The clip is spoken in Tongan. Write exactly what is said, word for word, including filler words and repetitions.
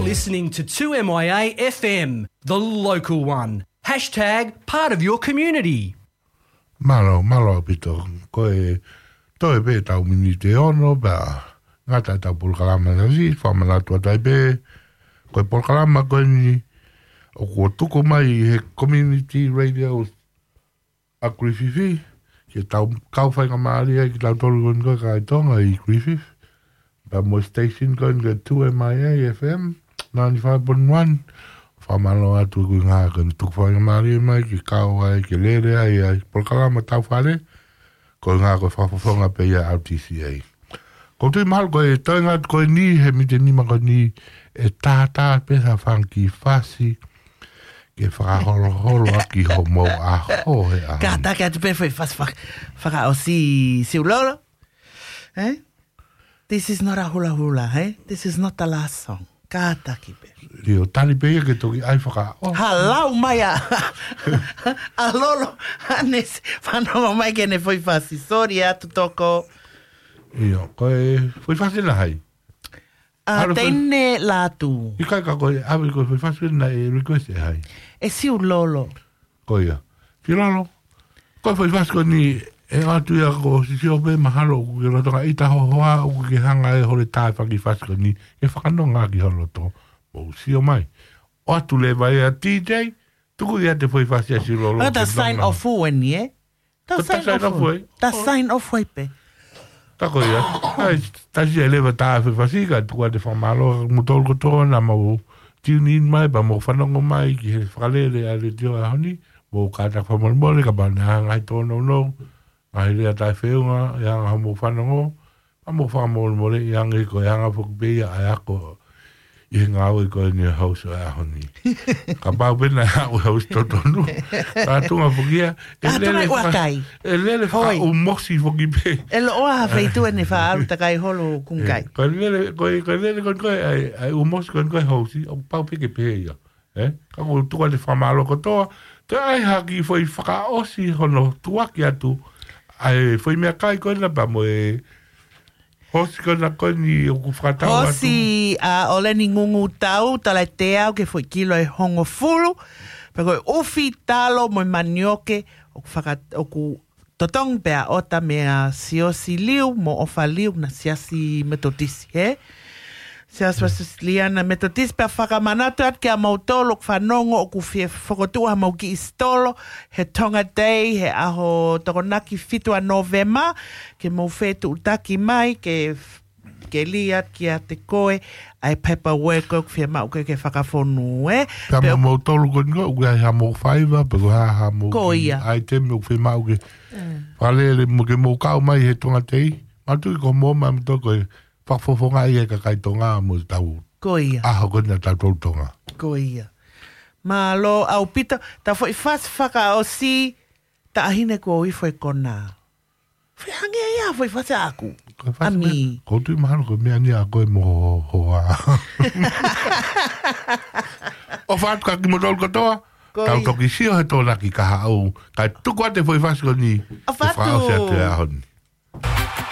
Listening to two M I A F M, the local one. Hashtag part of your community. Mālō, mālō ʻaupito. Ko e toe pē ʻetau miniti ʻe ono pea ngata ʻetau polokalama, Siaosi, fakamanatu atu ai pē. Ko e polokalama ko eni ʻoku tuku mai he community radio ʻa Griffith, ke tau kau faingamālie ai kitautolu ko eni ko e kakai Tonga ʻi Griffith. Pea mo e station ko eni ko e two M I A F M, ninety-five point one. Fakamālō atu ko e ʻuhinga ko eni tuku faingamālie mai ke kau ai, ke lele ai ʻa e polokalama Tau Fale, ko e ʻuhinga ko e fakafofonga pē ia ʻa L T C A. ʻOku ou tui mahalo ko e toenga atu ko eni he miniti ʻe nima ko eni ʻe tātā pē ha fanga kiʻi fasi ke fakaholoholo ʻaki homou ʻaho he ʻaho ni. Kātaki atu pē foʻi fasi fak-, fakaʻosi, Siulolo. Eh? This is not a hula hula, eh? This is not the last song. Kātaki pē. ʻIo, tali pē ia ke toki ʻai fakaʻo. Halau mai ʻa, ʻa Lolo, ʻa ʻene s-, fanongo mai ki heʻene foʻi fasi. Sorry atu toko. ʻIo, ko e foʻi fasi naʻe hai? ʻA Alo, Teine Lātū. ʻIkai ka ko e, ʻave ko e foʻi fasi naʻe request ʻe hai? ʻE Siulolo. Ko ia. Siulolo. Ko e foʻi fasi ko eni ʻe ʻoatu ia ko Siaosi pē, mahalo ʻoku ke lolotonga ʻita ho hoa, ʻoku ke hanga ʻe hole tae faki fasi ko eni ke fakanonga ki ho loto. Mou sio mai. ʻOatu leva ia D J, tuku ia ʻa e foʻi fasi ʻa Siulolo. ʻA, ta ke sign nonga. Off eni, eh? Ta Ko ta sign sign off off eni. ʻE? Ta Oh. sign off ai pē. Ta ko ia. ʻAi, ta sia leva ta foʻi fasi ka tuku atu e fakamālō kiate kimoutolu kotoa naʻa mou tune in mai, pea mou fanongo mai ki he fakalele ʻa e letiō ʻaho ni, mou kātaki fakamolemole, kapau naʻe ʻi ai ha ngaahi tōnounou, ngaahi lea taʻefeʻunga, ʻi he anga hoʻomou fanongo, pea mou fakamolemoleʻi ange ko e anga foki pē ia ʻa e ako ʻi he ngāue ko eni ʻa e host ʻo e ʻaho ni. Kapau pē naʻe haʻu e host totonu. Ka tuʻunga foki ia, ʻe Ka tuʻunga lele ua faka-, kai. ʻe lele Hoi. fakaʻūmosi foki pē. ʻE loʻoa ha feituʻu ʻene faʻa ʻalu takai holo kunkai. Ko e lele, ko e, ko e lele ko eni ko e, ʻai, ʻai ʻūmosi ko eni ko e host, ʻoku pau pē ke pehē ia. Eh? Ka ʻoku ou tuku atu e fakamālō kotoa. Toe ʻai ha kiʻi foʻi fakaʻosi hono tuʻuaki atu ʻa e foʻi meʻakai ko ena pea mo e host ko ena ko eni ʻoku fakatau atu. Host ʻa ʻOleni Ngungutau, talaʻi teau ki he foʻi kilo ʻe hongofulu. Pea ko e ʻufi, talo mo e manioke ʻoku faka-, ʻoku totongi pē ʻa ʻOta meia Siaosi Liu mo ʻOfa Liu, na Siasi Metotisi, he? Siasi Uēsiliana Metotisi. Pea fakamanatu atu kiate kimoutolu ʻoku fanongo, ʻoku fie fokotuʻu hamou kiʻi sitolo he Tonga Day, he ʻaho Tokonaki fitu ʻa Nōvema, ke mou fetuʻutaki mai, ke f-, ke lī atu kiate koe ʻa e paperwork ʻoku fiemaʻu ke, ke fakafonu, eh? Pea Pe mo moutolu ko eni ko, ʻoku ʻi ai hamou faiva, pe ko e hā hamou Ko kiʻi ia. item ʻoku fiemaʻu ke Mm. fakalele mo ke mou kau mai he Tonga Day. Mātuʻaki ko mo ma mo to ko e fakafofongaʻi e kakai Tonga mo tau Ko ia. ʻaho ko ena tautolu Tonga. Ko ia. Mālō ʻaupito, ta foʻi fasi fakaʻosi, Taʻahine Kuo Ifo e Kona. Fai hangē ia foʻi fasi ʻaʻaku. Ko e fasi Ami. meʻa, ʻoku ou tui mahalo ko e meʻa ni ʻa koe mo ho hoa. ʻOfa atu kiate kimoutolu kotoa, Ko tau ia. toki sio he Tokonaki kahaʻu, kae tuku atu e foʻi fasi ko eni, ʻOfa atu. fakaʻosi atu e ʻaho ni.